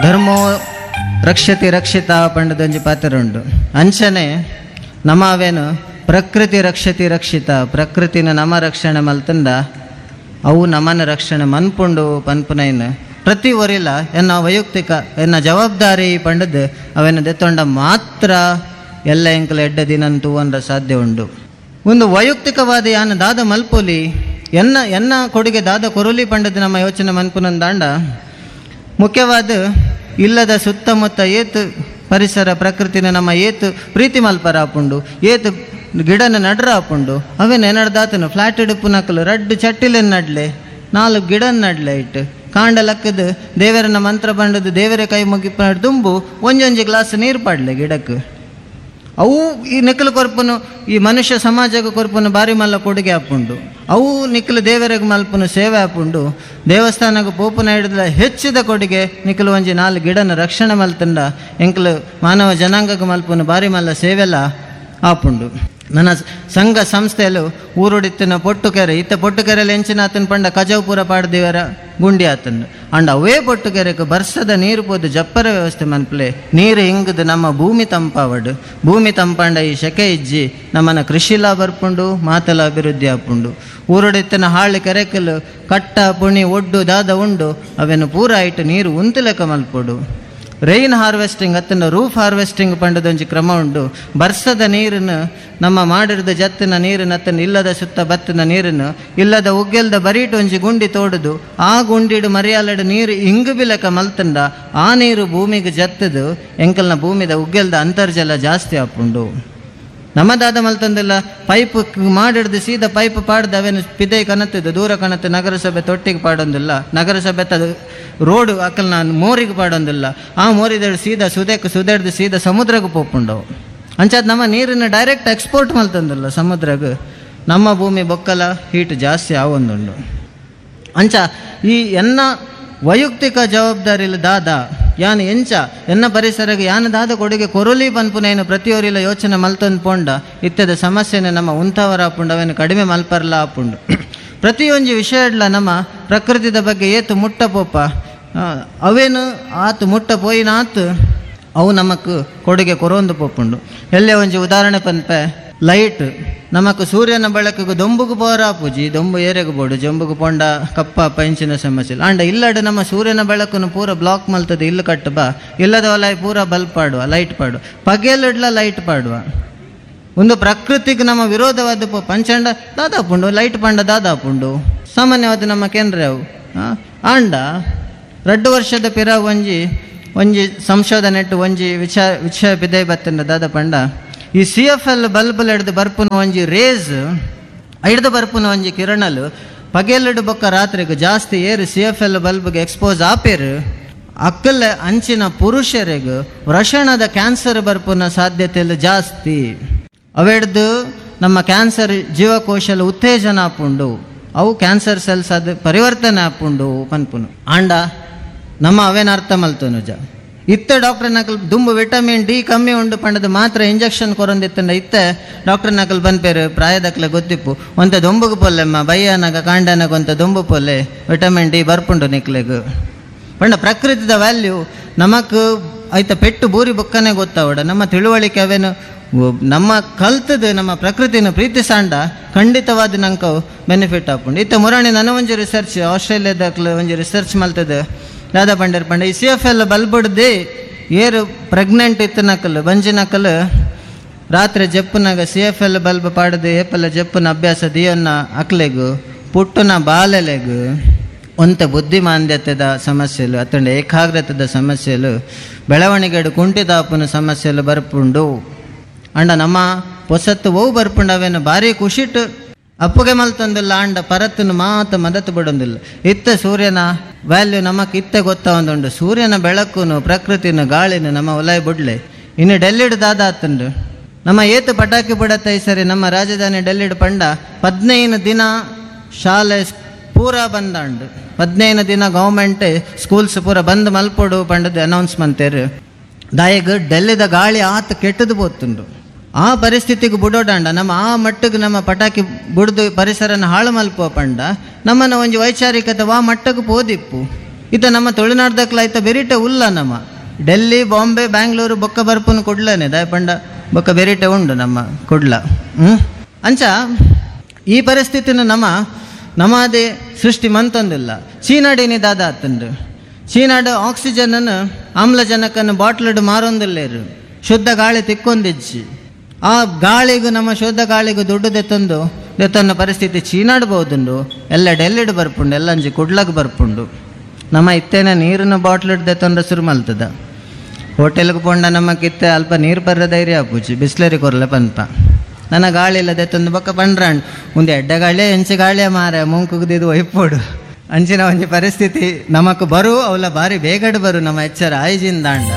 ಧರ್ಮೋ ರಕ್ಷತಿ ರಕ್ಷಿತ ಪಂಡದೊಂಜಿ ಪಾತ್ರ ಉಂಡು. ಅಂಚನೆ ನಮ ಅವೇನು ಪ್ರಕೃತಿ ರಕ್ಷತಿ ರಕ್ಷಿತ, ಪ್ರಕೃತಿನ ನಮ ರಕ್ಷಣೆ ಮಲ್ತಂದ ಅವು ನಮನ ರಕ್ಷಣೆ ಮನ್ಪುಂಡು ಪನ್ಪುನೈನ್ ಪ್ರತಿ ಒರಿಲ ಎನ್ನ ವೈಯಕ್ತಿಕ ಎನ್ನ ಜವಾಬ್ದಾರಿ ಪಂಡದ್ದು ಅವೇನು ದೆತ್ತೊಂಡ ಮಾತ್ರ ಎಲ್ಲ ಎಂಕಲ ಎಡ್ಡ ದಿನ ತೂವನ್ರ ಸಾಧ್ಯ ಉಂಡು. ಒಂದು ವೈಯಕ್ತಿಕವಾದ ಯಾನ ದಾದ ಮಲ್ಪೊಲಿ, ಎನ್ನ ಎನ್ನ ಕೊಡುಗೆ ದಾದ ಕೊರೊಲಿ ಪಂಡದ್ದು ನಮ್ಮ ಯೋಚನೆ ಮನ್ಪುನಂದಾಂಡ ಮುಖ್ಯವಾದ ಇಲ್ಲದ ಸುತ್ತಮುತ್ತ ಏತು ಪರಿಸರ ಪ್ರಕೃತಿನ ನಮ್ಮ ಏತು ಪ್ರೀತಿ ಮಲ್ಪರ ಆಪುಂಡು, ಏತು ಗಿಡನ ನಡ್ರ ಆಪುಂಡು. ಅವೇನು ಎನ್ನಡ್ದಾತನು ಫ್ಲಾಟ್ ಇಡುಪುನಕಲು ರಡ್ಡು ಚಟ್ಟಿಲೆನ್ ನಡ್ಲೆ, 4 ಗಿಡನ ನಡ್ಲೆ ಇಟ್ಟು ಕಾಂಡ ಲಕ್ಕದು ದೇವರನ್ನ ಮಂತ್ರ ಬಂಡದು ದೇವರ ಕೈ ಮುಗಿಪ ದುಂಬು ಒಂಜೊಂಜಿ ಗ್ಲಾಸ್ ನೀರು ಪಾಡ್ಲೆ ಗಿಡಕ್ಕೆ. ಅವು ಈ ನಿಕ್ಕಲು ಕೊರ್ಪುನು ಈ ಮನುಷ್ಯ ಸಮಾಜಕ್ಕೆ ಕೊರ್ಪುನು ಬಾರಿ ಮಲ್ಲ ಕೊಡುಗೆ ಆಪುಂಡು. ಅವು ನಿಕ್ಕಲು ದೇವರಿಗೆ ಮಲ್ಪುನು ಸೇವೆ ಆಪುಂಡು. ದೇವಸ್ಥಾನಕ್ಕೆ ಪೋಪುನ ಹಿಡಿದ ಹೆಚ್ಚಿದ ಕೊಡುಗೆ ನಿಕ್ಕಲು ಒಂಜಿ 4 ಗಿಡನ ರಕ್ಷಣೆ ಮಲ್ತಂಡ ಎಂಕಲು ಮಾನವ ಜನಾಂಗಕ್ಕೆ ಮಲ್ಪುನು ಬಾರಿ ಮಲ್ಲ ಸೇವೆಲ್ಲ ಆಪುಂಡು. ನನ್ನ ಸಂಘ ಸಂಸ್ಥೆಯಲ್ಲೂ ಊರುಡಿತ್ತಿನ ಪೊಟ್ಟುಕೆರೆ ಇತ್ತ ಪೊಟ್ಟುಕೆರೆಯಲ್ಲಿ ಎಂಚಿನ ಆತನ ಪಂಡ ಕಜವು ಪಾಡ್ದಿವರ ಗುಂಡಿ ಆತನ ಅಂಡ್ ಅವೇ ಪೊಟ್ಟುಕೆರೆಗೆ ಬರ್ಸದ ನೀರು ಪೋದು ಜಪ್ಪರ ವ್ಯವಸ್ಥೆ ಮನ್ಪ್ಲೆ ನೀರು ಹಿಂಗದು ನಮ್ಮ ಭೂಮಿ ತಂಪಾವಡು. ಭೂಮಿ ತಂಪಾಂಡ ಈ ಶೆಕೆ ಇಜ್ಜಿ ನಮ್ಮನ್ನ ಕೃಷಿಲ ಬರ್ಪುಂಡು, ಮಾತಲ ಅಭಿವೃದ್ಧಿ ಆಪುಂಡು. ಊರುಡಿತ್ತಿನ ಹಾಳು ಕೆರೆಕಲು ಕಟ್ಟ ಪುಣಿ ಒಡ್ಡು ದಾದ ಉಂಡು ಅವೇನು ಪೂರ ಇಟ್ಟು ನೀರು ಉಂತುಲೆಕ ಮಲ್ಪೊಡು. ರೈನ್ ಹಾರ್ವೆಸ್ಟಿಂಗ್ ಅತ್ತನ ರೂಫ್ ಹಾರ್ವೆಸ್ಟಿಂಗ್ ಪಂಡದೊಂಜಿ ಕ್ರಮ ಉಂಡು. ಬರ್ಸದ ನೀರನ್ನು ನಮ್ಮ ಮಾಡಿರದ ಜತ್ತಿನ ನೀರನ್ನು ಅತ್ತನ ಇಲ್ಲದ ಸುತ್ತ ಬತ್ತಿನ ನೀರನ್ನು ಇಲ್ಲದ ಉಗ್ಗೆಲ್ದ ಬರೀಟು ಒಂಜಿ ಗುಂಡಿ ತೋಡುದು ಆ ಗುಂಡಿಡು ಮರಿಯಾಲಡು ನೀರು ಇಂಗು ಬಿಲಕ ಮಲ್ತಂಡ ಆ ನೀರು ಭೂಮಿಗೆ ಜತ್ತದು ಎಂಕಲ್ನ ಭೂಮಿದ ಉಗ್ಗೆಲ್ದ ಅಂತರ್ಜಲ ಜಾಸ್ತಿ ಆಪುಂಡು. ನಮ್ಮದಾದ ಮಲ್ತಂದಿಲ್ಲ ಪೈಪ್ ಮಾಡಿಡ್ದು ಸೀದಾ ಪೈಪ್ ಪಾಡ್ದು ಅವೇನು ಪಿದೈ ಕನತ್ತಿದ್ದು ದೂರ ಕಣತ್ತು ನಗರಸಭೆ ತೊಟ್ಟಿಗೆ ಪಾಡೊಂದಿಲ್ಲ, ನಗರಸಭೆ ತದು ರೋಡು ಅಕ್ಕಲ್ ನಾನು ಮೋರಿಗೆ ಪಾಡೊಂದಿಲ್ಲ, ಆ ಮೋರಿದ ಸೀದಾ ಸುದೆಕ್ ಸುದೆಡ್ದು ಸೀದಾ ಸಮುದ್ರಕ್ಕೆ ಪೋಪುಂಡವು. ಅಂಚಾದ ನಮ್ಮ ನೀರನ್ನು ಡೈರೆಕ್ಟ್ ಎಕ್ಸ್ಪೋರ್ಟ್ ಮಲ್ತಂದಿಲ್ಲ ಸಮುದ್ರಕ್ಕೆ, ನಮ್ಮ ಭೂಮಿ ಬೊಕ್ಕಲ ಹೀಟ್ ಜಾಸ್ತಿ ಆವೊಂದುಂಡು. ಅಂಚ ಈ ಎನ್ನ ವೈಯಕ್ತಿಕ ಜವಾಬ್ದಾರಿಲಿ ದಾದ ಯಾನ್ ಎಂಚ ಎನ್ನ ಪರಿಸರಕ್ಕೆ ಯಾನ ದಾದ ಕೊಡುಗೆ ಕೊರಲಿ ಪನ್ಪುನೇನು ಪ್ರತಿಯೊರಿಲ ಯೋಚನೆ ಮಲ್ತೊಂದು ಪೋಂಡ ಇತ್ತದ ಸಮಸ್ಯೆನ ನಮ್ಮ ಉಂತವರ ಆಪುಂಡು, ಅವೇನು ಕಡಿಮೆ ಮಲ್ಪರ್ಲ ಆಪುಂಡು. ಪ್ರತಿಯೊಂಜಿ ವಿಷಯಡ್ಲ ನಮ್ಮ ಪ್ರಕೃತಿದ ಬಗ್ಗೆ ಏತು ಮುಟ್ಟ ಪೋಪ ಅವೇನು ಆತು ಮುಟ್ಟ ಪೋಯಿನಾತು ಅವು ನಮಕ್ ಕೊಡುಗೆ ಕೊರೊಂದು ಪೋಪುಂಡು. ಎಲ್ಲೇ ಒಂಜಿ ಉದಾಹರಣೆ ಪನ್ಪೆ, ಲೈಟ್ ನಮಕ್ ಸೂರ್ಯನ ಬೆಳಕಿಗೆ ದೊಂಬುಗು ಪೋರ ಪೂಜಿ ದೊಂಬು ಏರೆಗು ಬೋಡು ಜಂಬುಗು ಪೊಂಡ ಕಪ್ಪ ಪಂಚಿನ ಸಮಸ್ಯೆ ಅಂಡ ಇಲ್ಲಡೆ ನಮ್ಮ ಸೂರ್ಯನ ಬೆಳಕನ್ನು ಪೂರ ಬ್ಲಾಕ್ ಮಲ್ತದೆ ಇಲ್ಲು ಕಟ್ಟಬ ಇಲ್ಲದ ಒಲ ಪೂರ ಬಲ್ಬ್ ಪಾಡುವ ಲೈಟ್ ಪಾಡುವ ಪಗೆಲಿಡ್ಲ ಲೈಟ್ ಪಾಡುವ ಒಂದು ಪ್ರಕೃತಿಗೆ ನಮ್ಮ ವಿರೋಧವಾದ ಪಂಚಂಡ ದಾದಾಪುಂಡು ಲೈಟ್ ಪಂಡ ದಾದಾಪುಂಡು ಸಾಮಾನ್ಯವಾದ ನಮ್ಮ ಕೇಂದ್ರ ಅವು ಆಂಡ 2 ವರ್ಷದ ಪಿರ ಒಂಜಿ ಒಂಜಿ ಸಂಶೋಧನೆ ಇಟ್ಟು ಒಂಜಿ ವಿಚಾರ ವಿಷಯ ಪಿದೈ ಬತ್ತಂಡ ದಾದ ಪಂಡ ಈ C F L bulb ಹಿಡ್ದು ಬರ್ಪುನ ಒಂಜಿ ರೇಸ್ ಹಿಡ್ದು ಬರ್ಪುನ ಒಂಜಿ ಕಿರಣಲು ಪಗೆಲಿಡು ಬೊಕ್ಕ ರಾತ್ರಿಗೆ ಜಾಸ್ತಿ ಏರು C F L ಬಲ್ಬ್ಗೆ expose ಆಪೇರು ಅಕ್ಕಲ್ಲ ಅಂಚಿನ ಪುರುಷರಿಗೆ ವೃಷಣದ ಕ್ಯಾನ್ಸರ್ ಬರ್ಪುನ ಸಾಧ್ಯತೆ ಜಾಸ್ತಿ. ಅವೆಡ್ದು ನಮ್ಮ ಕ್ಯಾನ್ಸರ್ ಜೀವಕೋಶಲ ಉತ್ತೇಜನ ಆಪುಂಡು, ಅವು ಕ್ಯಾನ್ಸರ್ ಸೆಲ್ಸ್ ಅದು ಪರಿವರ್ತನೆ ಆಪುಂಡು ಪನ್ಪುನು. ಆಂಡ ನಮ್ಮ ಅವೇನ ಅರ್ಥ ಮಲ್ತನುಜ ಇತ್ತೆ ಡಾಕ್ಟರ್ ನಕಲ್ ದುಂಬು ವಿಟಮಿನ್ ಡಿ ಕಮ್ಮಿ ಉಂಡು ಪಂಡದು ಮಾತ್ರ ಇಂಜೆಕ್ಷನ್ ಕೊರೊಂದಿತ್ತಂಡ ಇತ್ತೆ ಡಾಕ್ಟರ್ ನಕಲ್ ಬನ್ಪೇರು ಪ್ರಾಯದಕ್ಲೆ ಗೊತ್ತಿಪ್ಪು ಒಂತೆ ದೊಂಬುಗು ಪೊಲ್ಲೆಮ್ಮ ಬಯ್ಯನಗ ಕಾಂಡನಗ ಒಂತೆ ದೊಂಬು ಪೊಲ್ಲೆ ವಿಟಮಿನ್ ಡಿ ಬರ್ಪುಂಡು ನಿಕ್ಲೆಗ್ ಪಂಡ. ಪ್ರಕೃತಿದ ವ್ಯಾಲ್ಯೂ ನಮಕ್ ಐತ ಪೆಟ್ಟು ಬೂರಿ ಬೊಕ್ಕನೆ ಗೊತ್ತಾವಡ ನಮ್ಮ ತಿಳುವಳಿಕೆ ಅವೇನು ನಮ್ಮ ಕಲ್ತದ ನಮ್ಮ ಪ್ರಕೃತಿನ ಪ್ರೀತಿಸಾಂಡ ಖಂಡಿತವಾದ ನಂಗೆ ಬೆನಿಫಿಟ್ ಆಪುಂಡು. ಇತ್ತ ಮುರಾಣಿ ನನ್ನ ಒಂಜಿ ರಿಸರ್ಚ್ ಆಸ್ಟ್ರೇಲಿಯಾದಕ್ಲೆ ಒಂಜಿ ರಿಸರ್ಚ್ ಮಲ್ತದೆ ದಾದಾ ಪಂಡರ್ ಪಂಡ ಈ C F L ಬಲ್ಬುಡ್ದೆ ಏರು ಪ್ರೆಗ್ನೆಂಟ್ ಇತ್ತು ನಕಲು ಬಂಜಿ ನಕಲು ರಾತ್ರಿ ಜಪ್ಪುನಾಗ C F L bulb ಪಾಡದು ಏಪಲ್ಲ ಜಪ್ಪುನ ಅಭ್ಯಾಸ ದಿಯನ್ನ ಅಕ್ಲೆಗು ಪುಟ್ಟುನ ಬಾಲೆಲೆಗು ಒಂತ ಬುದ್ಧಿಮಾಂದ್ಯತೆದ ಸಮಸ್ಯೆಲು ಅತ್ತಂಡ ಏಕಾಗ್ರತೆದ ಸಮಸ್ಯೆಲು ಬೆಳವಣಿಗೆಡು ಕುಂಠಿತಾಪುನ ಸಮಸ್ಯೆಲು ಬರ್ಪುಂಡು. ಅಂಡ ನಮ್ಮ ಪೊಸತ್ತು ಓವು ಬರ್ಪುಂಡು ಅವೇನು ಭಾರಿ ಖುಷಿಟ್ಟು ಅಪ್ಪುಗೆ ಮಲ್ತೊಂದಿಲ್ಲ ಅಂಡ ಪರತ್ತನ್ನು ಮಾತ ಮದತ್ತು ಬಿಡೊಂದಿಲ್ಲ. ಇತ್ತ ಸೂರ್ಯನ ವ್ಯಾಲ್ಯೂ ನಮಕ್ ಇತ್ತೆ ಗೊತ್ತ ಒಂದುಂಡು. ಸೂರ್ಯನ ಬೆಳಕುನು ಪ್ರಕೃತಿನ ಗಾಳಿನ ನಮ್ಮ ಒಲಯ ಬುಡ್ಲೆ. ಇನ್ನು ಡೆಲ್ಲಿಡ್ ದಾದ ಆತುಂಡು ನಮ್ಮ ಏತು ಪಟಾಕಿ ಬಿಡತ್ತ ಈ ಸರಿ ನಮ್ಮ ರಾಜಧಾನಿ ಡೆಲ್ಲಿಡ್ ಪಂಡ 15 ದಿನ ಶಾಲೆ ಪೂರ ಬಂದಾಂಡು 15 ದಿನ ಗೌರ್ಮೆಂಟ್ ಸ್ಕೂಲ್ಸ್ ಪೂರ ಬಂದ್ ಮಲ್ಪೊಡು ಪಂಡದು ಅನೌನ್ಸ್ ಮಂತೇರು. ದಾಯಗ್ ಡೆಲ್ಲಿದ ಗಾಳಿ ಆತ ಕೆಟ್ಟದು ಪೋತುಂಡು. ಆ ಪರಿಸ್ಥಿತಿಗೆ ಬುಡೋಡಾಂಡ ನಮ್ಮ ಆ ಮಟ್ಟಕ್ಕೆ ನಮ್ಮ ಪಟಾಕಿ ಬುಡ್ದು ಪರಿಸರನ ಹಾಳು ಮಲ್ಪುವ ಪಂಡ ನಮ್ಮನ್ನ ಒಂಜಿ ವೈಚಾರಿಕತೆ ವಾ ಮಟ್ಟಕ್ಕೆ ಪೋದಿಪ್ಪು. ಇತ್ತ ನಮ್ಮ ತುಳುನಾಡ್ದಕ್ಲ ಐತ ಬೆರಿಟೆ ಉಲ್ಲ ನಮ್ಮ. ಡೆಲ್ಲಿ, ಬಾಂಬೆ, ಬ್ಯಾಂಗ್ಳೂರು ಬೊಕ್ಕ ಬರ್ಪುನು ಕುಡ್ಲನೆ, ದಾಯಪಂಡ ಬೊಕ್ಕ ಬೆರಿಟೆ ಉಂಡು ನಮ್ಮ ಕುಡ್ಲ. ಅಂಚ ಈ ಪರಿಸ್ಥಿತಿನ ನಮ್ಮ ನಮ್ಮದೇ ಸೃಷ್ಟಿ ಮಂತೊಂದಿಲ್ಲ. ಚೀನಾಡಿನಿ ದಾದ ಆತುಂಡು, ಚೀನಾಡು ಆಕ್ಸಿಜನ್ ಆಮ್ಲಜನಕನ್ನು ಬಾಟ್ಲಡ್ ಮಾರೊಂದಿಲ್ಲೇರು, ಶುದ್ಧ ಗಾಳಿ ತಿಕ್ಕೊಂದಿಜ್ಜಿ. ಆ ಗಾಳಿಗೂ ನಮ್ಮ ಶುದ್ಧ ಗಾಳಿಗೂ ದುಡ್ಡು ದೆತ್ತೊಂದು ದೆತ್ತೊಂದು ಪರಿಸ್ಥಿತಿ ಚೀನಾಡ್ಬೋದುಂಡು. ಎಲ್ಲ ಡೆಲ್ಲಿಡ್ ಬರ್ಪುಂಡು, ಎಲ್ಲ ಅಂಜಿ ಕುಡ್ಲಗ್ ಬರ್ಪುಂಡು. ನಮ್ಮ ಇತ್ತೇನ ನೀರಿನ ಬಾಟ್ಲಿಡ್ ದೆತ್ತೊಂದು ಶುರು ಮಲ್ತದ. ಹೋಟೆಲ್ಗೆ ಪೋಂಡ ನಮ್ಮ ಕಿತ್ತೆ ಅಲ್ಪ ನೀರು ಪರ್ರ ಧೈರ್ಯ ಆಪುಜಿ, ಬಿಸ್ಲರಿ ಕೊರ್ಲೆ ಪನ್ಪ. ನನ್ನ ಗಾಳಿ ಇಲ್ಲ ದೆತ್ತೊಂದು ಬೊಕ್ಕ ಪಂಡ್ರಾಂಡ್ ಒಂದು ಎಡ್ಡೆ ಗಾಳಿಯ ಎಂಚೆ ಗಾಳಿಯ ಮಾರ ಮೂಂಕುಗ್ದಿದ್ದು ಒಯ್ಪೋಡು. ಅಂಚಿನ ಒಂಜಿ ಪರಿಸ್ಥಿತಿ ನಮಕ್ ಬರು, ಅವಲ ಬಾರಿ ಬೇಗಡ್ ಬರು ನಮ್ಮ ಎಚ್ಚರ ಆಯ್ಜಿಂದಾಂಡ.